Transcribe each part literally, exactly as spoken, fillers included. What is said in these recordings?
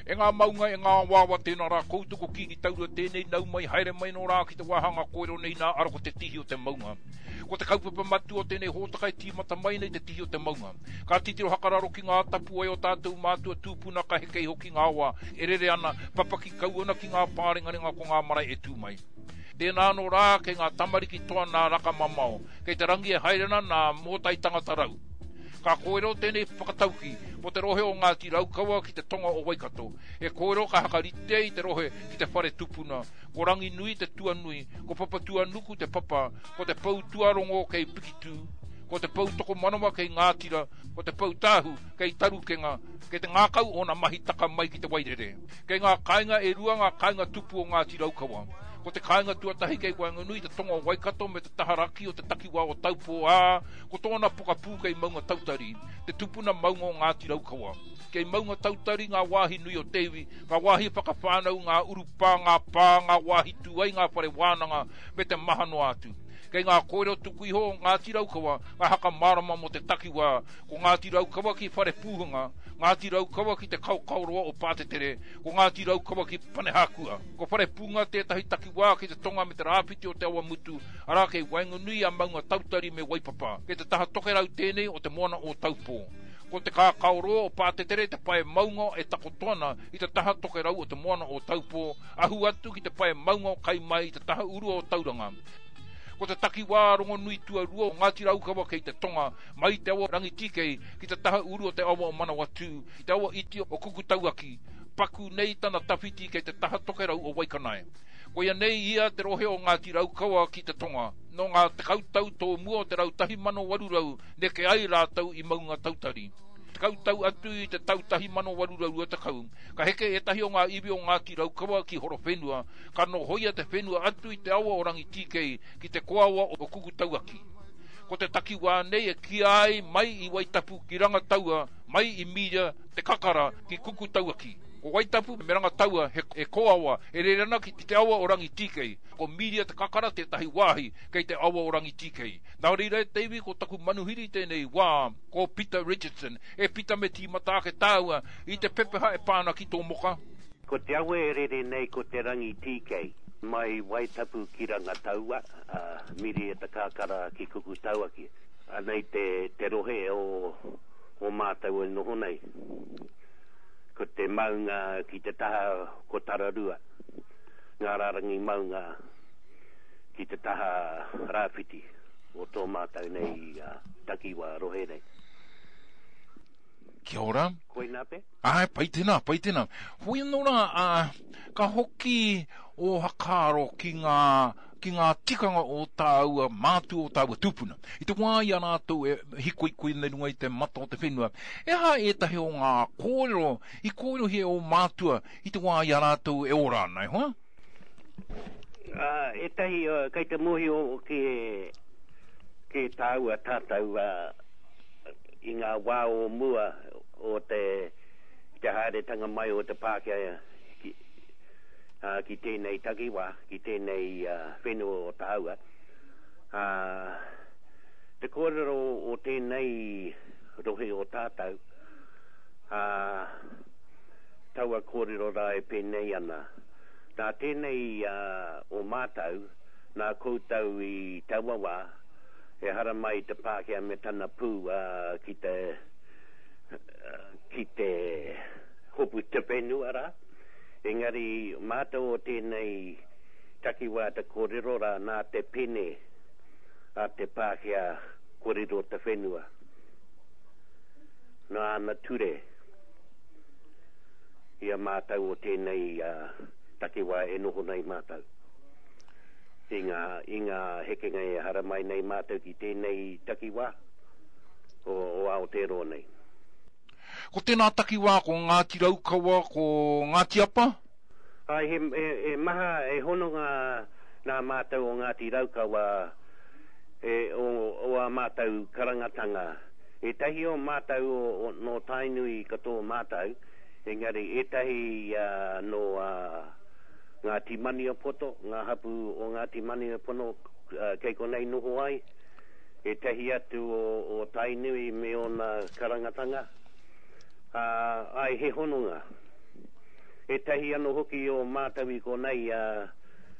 E ngā maunga, e ngā awaawa, tēnā rā koutou ko Kīngi Taurua tēnei, nau mai, haere mai nō rā ki te wāhanga kōrero nei nā, ara ko te tihi o te maunga. Ko te kaupapa matua o tēnei hōtaka e tīmata mai nei te tihi o te maunga. Ka titiro hakararo ki ngā tapuwae o tātou mātua tūpuna ka heke iho ki ngā awa e rere ana, papaki kau ana ki ngā pārengarenga ko ngā marae e tū mai. Tēnā anō rā kei ngā tamariki toa nā Raka Mamao, kei te rangi e haere ana nā Mōtai Tangata Rau. Ka kōrero tēnei whakatauki mō te rohe o Ngāti Raukawa ki te tonga o Waikato. He kōrero ka hakarite i te rohe ki te whare tupuna. Ko Ranginui te tuanui, ko Papatuanuku te papa, ko te pou tuarongo kei Pikitū, ko te pou tokomanawa kei Ngātira, ko te pou tāhu kei Tarukenga, kei te ngākau ōna mahi taka mai ki te wairere. Kei ngā kāinga e rua ngā kāinga tupu o Ngāti Raukawa. Ko te kāinga tuatahi kei waenganui i te tonga o Waikato me te taha raki o te takiwā o Taupō, ā, ko tōna pokapū kei Maunga Tautari, te tupuna maunga o Ngāti Raukawa. Kei Maunga Tautari ngā wāhi nui o te iwi, ngā wāhi whakawhānau, ngā urupā, ngā pā, ngā wāhi tū ai ngā whare wānanga, me te maha noa atu. Kei ngā kōrero tuku iho o Ngāti Raukawa ngā haka mārama mō te takiwā, ko Ngāti Raukawa ki Wharepūhunga, Ngāti Raukawa ki te Kaokaoroa o Pātetere, ko Ngāti Raukawa ki Panehākua. Ko Wharepūnga tētahi takiwā ki te tonga me te rāwhiti o Te Awamutu, arā kei waenganui i a Maunga Tautari me Waipapa. Kei te taha tokerau tēnei o te moana o Taupō. Ko te Kākaoroa o Pātetere te pae maunga e takoto ana i te taha tokerau o te moana o Taupō, ahu atu ki te pae maunga o Kaimai i te taha urua o Tauranga. Ko te takiwā rongonui tuarua o Ngāti Raukawa kei te tonga, mai i te awa Rangitīkei ki te taha uru o te awa o Manawatū, ki te awa iti o Kukutauaki, paku nei tana tawhiti kei te taha tokerau o Waikanae. Koia nei ia te rohe o Ngāti Raukawa ki te tonga. Nō ngā tekau tau tōmua o te rau tahi mano waru rau neke ai rātou i Maunga Tautari. Tekau tau atu i te tau tahi mano waru rau rua tekau, ka heke ētahi o ngā iwi o Ngāti Raukawa ki Horowhenua, ka nohoia te whenua atu i te awa o Rangitīkei ki te kōawa o Kukutauaki. Ko te takiwā nei e kīia ai mai i Waitapu ki Rangataua, mai i Mīria, Te Kakara, ki Kukutauaki. Ko Waitapu me Rangataua he kōawa e rere ana ki te awa o Rangitīkei. Ko Mīria Te Kakara tētahi wāhi kei te awa o Rangitīkei. Nā reira e te iwi ko taku manuhiri tēnei wā, ko Pita Richardson. E Pita me tīmata ake tāua i te pepeha e pā ana ki tō moka. Ko te awa e rere nei ko te Rangitīkei. Mai Waitapu ki Rangataua, ā, Mīria Te Kakara ki Kukutauaki. Anei te, te rohe o, o mātou e noho nei. Ko te maunga ki te taha ko Tararua, ngā rārangi maunga ki te taha rāwhiti o tō mātou nei takiwā rohe nei. Kia ora. Koinā pe? Āe, pai tēnā, pai tēnā. Hoi anō rā, ā, ka hoki ō whakaaro ki ngā, ki ngā tikanga o tāua mātua, o tāua tūpuna. I te wā i a rātou e hikoikoi ana i runga i te mata o te whenua, he aha ētahi o ngā kōrero i kōrerohia e ō mātua i te wā i a rātou e ora ana, e hoa? Ā, ētahi kei te mōhio ki, ki tāua tātou, ā, i ngā wā o mua o te, te haeretanga mai o te Pākehā ki, ā, ki tēnei takiwā, ki tēnei whenua o tāua. Ā, te kōrero o tēnei rohe o tātou, ā, taua kōrero rā e pēnei ana, nā tēnei ā, o mātou, nā koutou i taua wā, E haramai te Pākehā me tana pū ki te, ki te hopu te whenua rā. Engari mātou o tēnei takiwā te kōrero rā nā te pene a te Pākehā kua riro te whenua. Nā ana ture i a mātou o tēnei takiwā e noho nei mātou. I ngā, i ngā hekenga e haramai nei mātou ki tēnei takiwā o, o Aotearoa nei. Ko tēnā takiwā ko Ngāti Raukawa, ko Ngāti Apa? Āe, he, he, he maha, he hononga nā mātou o Ngāti Raukawa e, o, o ā mātou karangatanga. Ētahi o mātou o, o, nō Tainui katoa mātou, engari ētahi nō ā, Ngāti Maniapoto, ngā hapū o Ngāti Maniapono kei konei noho ai, ētahi atu o Tainui me ōna karangatanga, ā, āe he hononga. Ētahi anō hoki o mātou i konei uh,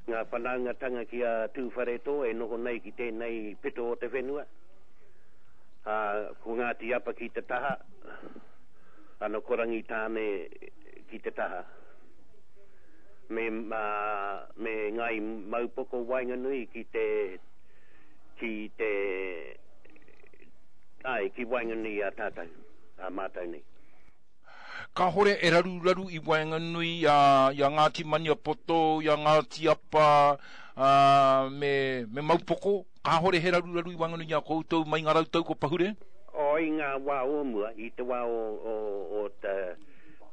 ngā whanaungatanga ki a Tūwharetoa e noho nei ki tēnei pito o te whenua. Uh, ko Ngāti Apa ki te taha, ano ko Rangitāne ki te taha. Me, uh, me Ngai Maupoko waenganui ki te, ki te, ai, ki waenganui a tātou, a mātou nei. Kāhore e raruraru i waenganui a, i a Ngāti Maniapoto, i a Ngāti Apa, a, me, me Maupoko. Kāhore he raruraru i waenganui i a koutou mai ngā rautau ko pahure? O i ngā wā o mua, i te wā o, o, o te,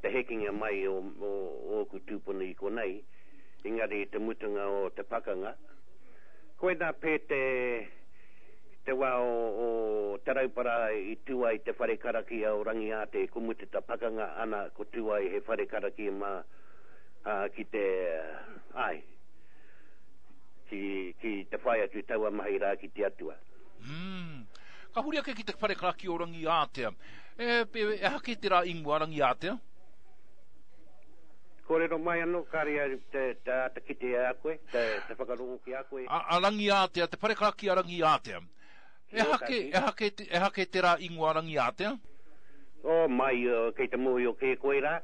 te hekenga mai o, o, o ōku tūpuna i konei, engari i te mutunga o te pakanga. Koinā pē te, te wā o, o Te Rauparaha i tū ai te whare karakia o Rangiātea, ko mutu te pakanga ana ko tū ai he whare karakia mā uh, ki te, ai, ki, ki te whai atu taua mahi rā ki te atua. Mm. Ka huri ake ki te whare karakia o Rangiātea. E, e, e hake te rā ingoa Rangiātea? Kōrero mai anō, kāre au te, te āta kite a koe, te, te whakarongo ki a koe. A, a Rangiātea, te whare karakia Rangiātea. E hake, e hake, e hake te rā ingoa Rangiātea? O, mai, uh, kei te mōhio kē koe rā.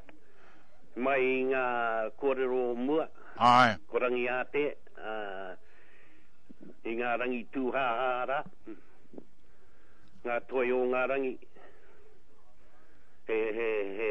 Mai i ngā kōrero o mua. Ai. Ko Rangiātea, uh, i ngā rangi tūhāhā rā. Ngā toi o ngā rangi. He, he, he,